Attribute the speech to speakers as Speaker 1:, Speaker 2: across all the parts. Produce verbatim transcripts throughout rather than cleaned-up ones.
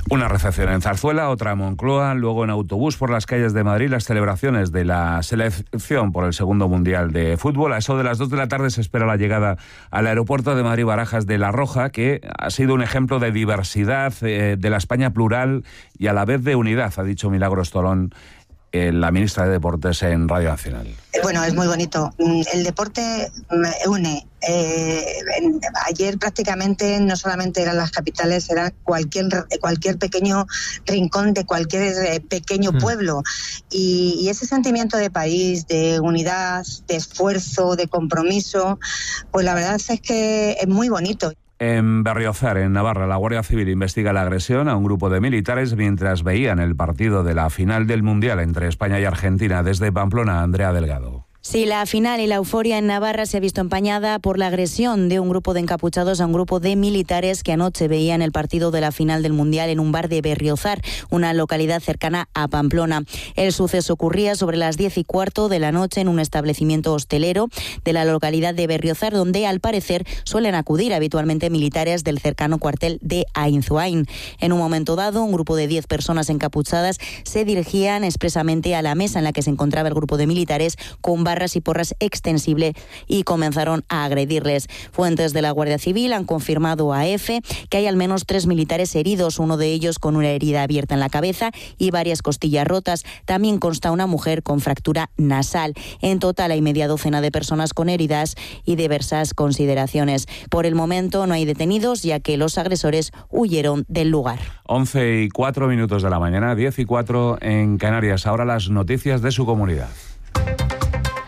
Speaker 1: Una recepción en Zarzuela, otra en Moncloa, luego en autobús por las calles de Madrid las celebraciones de la selección por el segundo Mundial de Fútbol. A eso de las dos de la tarde se espera la llegada al aeropuerto de Madrid-Barajas de La Roja, que ha sido un ejemplo de diversidad, eh, de la España plural y a la vez de unidad, ha dicho Milagros Tolón, la ministra de Deportes en Radio Nacional.
Speaker 2: Bueno, es muy bonito. El deporte une. Eh, ayer prácticamente no solamente eran las capitales, era cualquier cualquier pequeño rincón de cualquier pequeño pueblo. Y, y ese sentimiento de país, de unidad, de esfuerzo, de compromiso, pues la verdad es que es muy bonito.
Speaker 1: En Berriozar, en Navarra, la Guardia Civil investiga la agresión a un grupo de militares mientras veían el partido de la final del Mundial entre España y Argentina. Desde Pamplona, Andrea Delgado.
Speaker 3: Sí, la final y la euforia en Navarra se ha visto empañada por la agresión de un grupo de encapuchados a un grupo de militares que anoche veían el partido de la final del Mundial en un bar de Berriozar, una localidad cercana a Pamplona. El suceso ocurría sobre las diez y cuarto de la noche en un establecimiento hostelero de la localidad de Berriozar, donde al parecer suelen acudir habitualmente militares del cercano cuartel de Ainzuain. En un momento dado, un grupo de diez personas encapuchadas se dirigían expresamente a la mesa en la que se encontraba el grupo de militares con barras y porras extensible y comenzaron a agredirles. Fuentes de la Guardia Civil han confirmado a EFE que hay al menos tres militares heridos, uno de ellos con una herida abierta en la cabeza y varias costillas rotas. También consta una mujer con fractura nasal. En total hay media docena de personas con heridas y diversas consideraciones. Por el momento no hay detenidos, ya que los agresores huyeron del lugar.
Speaker 1: once y cuatro minutos de la mañana, diez y cuatro en Canarias. Ahora las noticias de su comunidad.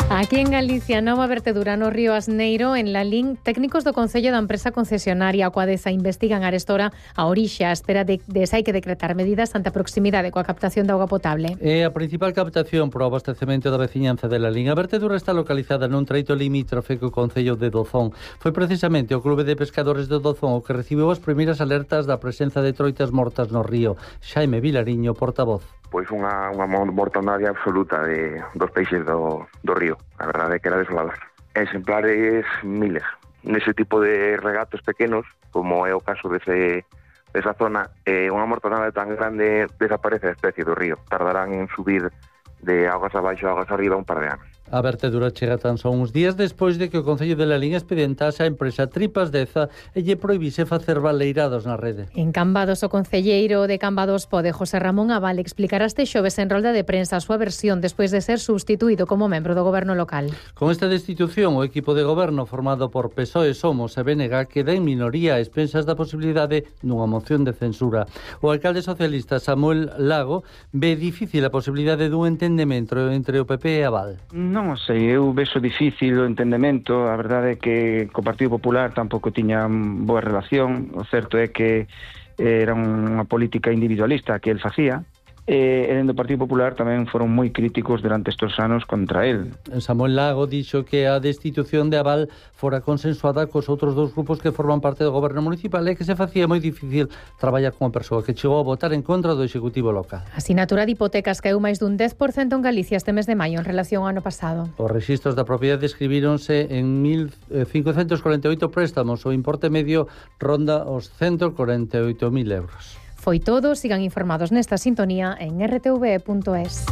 Speaker 4: Aquí en Galicia, Nova Vertedura no Río Asneiro, en Lalín, técnicos do Concello da empresa concesionaria Coadesa investigan arestora a orixe a espera de, de se hai que decretar medidas ante a proximidade coa captación de auga potable.
Speaker 5: É a principal captación para o abastecemento da veciñanza de Lalín. A vertedura está localizada nun treito limítrofe co Concello de Dozón. Foi precisamente o Clube de Pescadores de Dozón o que recibiu as primeiras alertas da presenza de troitas mortas no río. Xaime Vilariño, portavoz.
Speaker 6: Pois unha, unha mortandade absoluta de, dos peixes do, do río. A verdade é que era desolador. Exemplares miles. Nese tipo de regatos pequenos, como é o caso dese, desa zona, eh, unha mortandade tan grande desaparece a especie do río. Tardarán en subir de augas abaixo a augas arriba un par de anos.
Speaker 5: A vertedura chega tan só uns días despois de que o Concello de Lalín expedientase a empresa Tripas Deza e lle prohibise facer baleirados na rede.
Speaker 4: En Cambados, o concelleiro de Cambados Pode, José Ramón Abal, explicará este xoves en rolda de prensa a súa versión despois de ser substituído como membro do goberno local.
Speaker 5: Con esta destitución, o equipo de goberno formado por P S O E, Somos e B N G queda en minoría a expensas da posibilidade dunha moción de censura. O alcalde socialista Samuel Lago ve difícil a posibilidade dun entendemento entre o P P e Abal.
Speaker 7: Non sei, eu vexo difícil o entendemento. A verdade é que co Partido Popular tampouco tiña boa relación. O certo é que era unha política individualista que el facía. E dentro do Partido Popular tamén foron moi críticos durante estes anos contra el.
Speaker 5: Samuel Lago dixo que a destitución de Abal fora consensuada cos outros dous grupos que forman parte do goberno municipal e que se facía moi difícil traballar con a persoa que chegou a votar en contra do Executivo local.
Speaker 4: A sinatura de hipotecas caeu máis dun dez por cento en Galicia este mes de maio en relación ao ano pasado.
Speaker 5: Os rexistros da propiedade escribíronse en mil cincocentos corenta e oito préstamos. O importe medio ronda os ciento corenta e oito mil euros.
Speaker 4: Foi todo, sigan informados nesta sintonía en r t v punto es.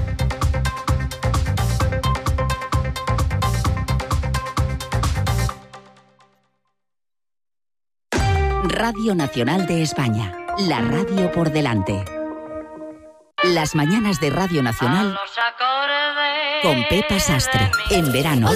Speaker 8: Radio Nacional de España, la radio por delante. Las mañanas de Radio Nacional con Pepa Sastre, en verano.